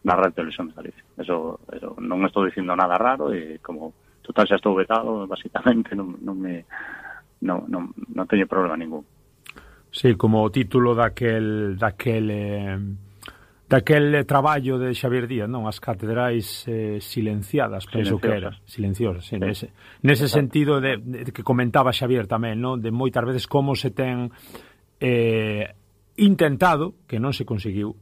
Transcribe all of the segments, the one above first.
na Radio Televisión de Galicia. Eso non estou dicindo nada raro e como total xa estou vetado, basicamente non teño problema ningún. Sí, como o título daquel traballo de Xavier Díaz, non? As catedrais silenciadas, penso que era. Silenciosas, sí. Nese sentido de que comentaba Xavier tamén, non? De moitas veces como se ten intentado, que non se conseguiu,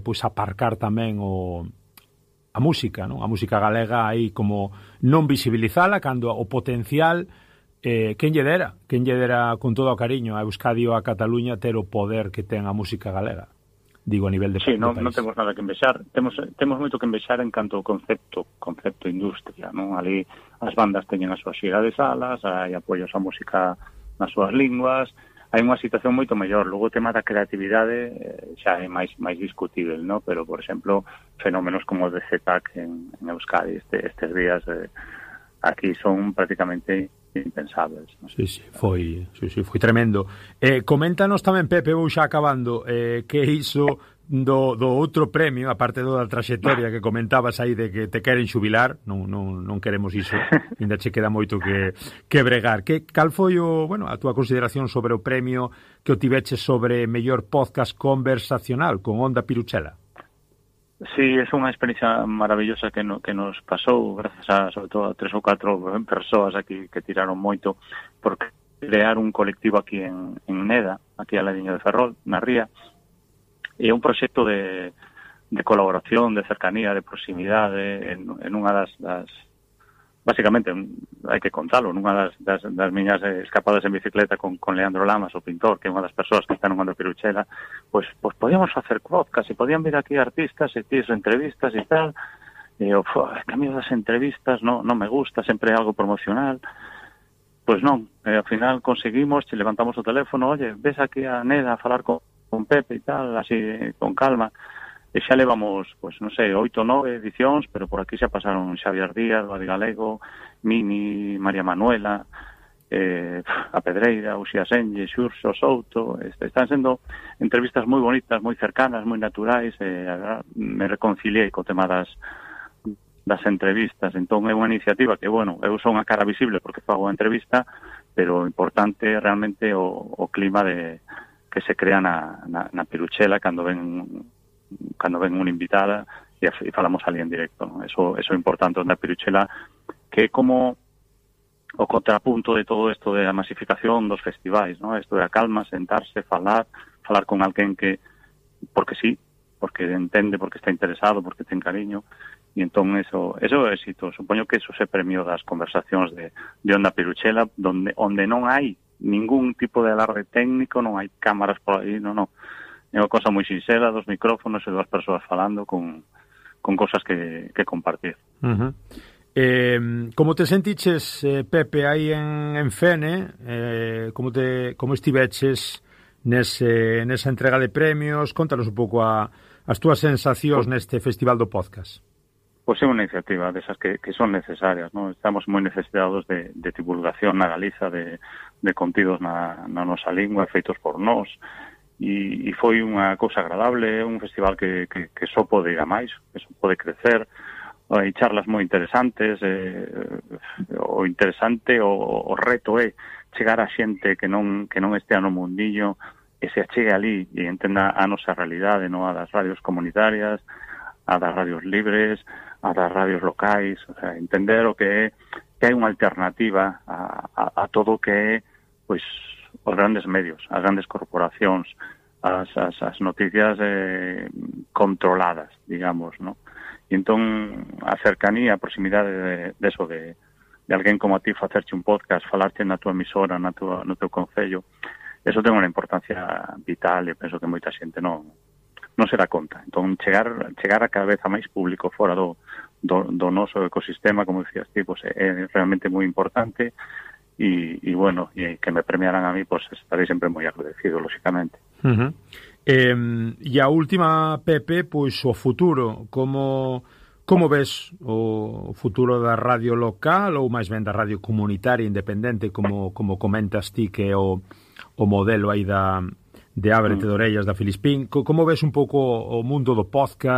pois aparcar tamén a música, non? A música galega aí como non visibilizala cando o potencial quen lle dera con todo o cariño a Euskadi ou a Cataluña ter o poder que ten a música galega. Digo, a nivel de país. Sí, non temos nada que envexar. Temos moito que envexar en canto ao concepto industria, non? Ali as bandas teñen a súa xira de salas, hai apoios á música nas súas linguas, hai unha situación moito mellor. Logo o tema da creatividade xa é máis discutible, non? Pero, por exemplo, fenómenos como o de ZTAC en Euskadi estes días aquí son prácticamente impensables, ¿no? Sí, foi tremendo. Coméntanos tamén, Pepe, vou xa acabando, que iso do outro premio, aparte da traxectoria que comentabas aí de que te queren xubilar, non queremos iso, ainda che queda moito que bregar. Cal foi a túa consideración sobre o premio que o tiveches sobre mellor podcast conversacional con Onda Piruchela? Sí, é unha experiencia maravillosa que nos pasou, gracias sobre todo a 3 ou 4 persoas aquí que tiraron moito por crear un colectivo aquí en Neda, aquí a ladiño de Ferrol, na Ría, e é un proxecto de colaboración, de cercanía, de proximidade en unha das básicamente, hai que contalo, nunha das miñas escapadas en bicicleta con Leandro Lamas, o pintor, que é unha das persoas que están en Onda Piruchela, pois podíamos facer podcast e podían vir aquí artistas e tíos entrevistas e tal, e o cambio das entrevistas non me gusta, sempre é algo promocional. Pois non, ao final conseguimos, che levantamos o teléfono, oye, ves aquí a Neda a falar con Pepe e tal, así con calma. E xa levamos, pois, non sei, 8 ou 9 edicións, pero por aquí xa pasaron Xavier Díaz, Badi Galego, Mini, María Manuela, a Pedreira, Uxía Senlle, Xurxo, Souto. Están sendo entrevistas moi bonitas, moi cercanas, moi naturais, me reconciliei co tema das entrevistas. Entón é unha iniciativa que, eu son a cara visible porque fago a entrevista, pero o importante é realmente o clima que se crea na Piruchela cando ven unha invitada e falamos ali en directo, ¿no? Eso é importante na Piruchela, que é como o contrapunto de todo isto de a masificación dos festivais, ¿no? Isto de a calma, sentarse, falar con alguén que porque sí, porque entende, porque está interesado, porque ten cariño, e entón eso é éxito. Supoño que eso se premio das conversacións de Onda Piruchela, onde non hai ningún tipo de alarde técnico, non hai cámaras por aí, non. É unha cosa moi sinxela, dos micrófonos e 2 persoas falando con cosas que compartir. Uh-huh. Como te sentiches, Pepe, aí en Fene, como estiveches nesa entrega de premios? Contanos un pouco as túas sensacións neste Festival do Podcast. Pois é unha iniciativa desas que son necesarias, ¿no? Estamos moi necesitados de divulgación na Galiza, de contidos na nosa lingua, feitos por nós, e foi unha cousa agradable, un festival que só pode ir a máis, que só pode crecer. Hai charlas moi interesantes, o interesante, o reto é chegar a xente que non estea no mundillo, e se achegue ali e entenda a nosa realidade, non a das radios comunitarias, a das radios libres, a das radios locais, o sea, entender o que hai unha alternativa a todo o que é, pois, os grandes medios, as grandes corporacións, as noticias controladas, digamos, ¿no? E entón, a cercanía, a proximidade de alguén como a ti facerche un podcast, falarte na tua emisora, no teu concello, eso ten unha importancia vital e penso que moita xente non se dá conta. Entón, chegar a cada vez a máis público fora do noso ecosistema, como dicías ti, pues, é realmente moi importante. E que me premiaran a mí, pues estarei sempre moi agradecido, lóxicamente. Uh-huh. E a última, Pepe, pois o futuro, como ves o futuro da radio local ou máis ben da radio comunitaria independente, como comentas ti, que é o modelo aí de Ábrete de Orellas da Filispín? Como ves un pouco o mundo do podcast?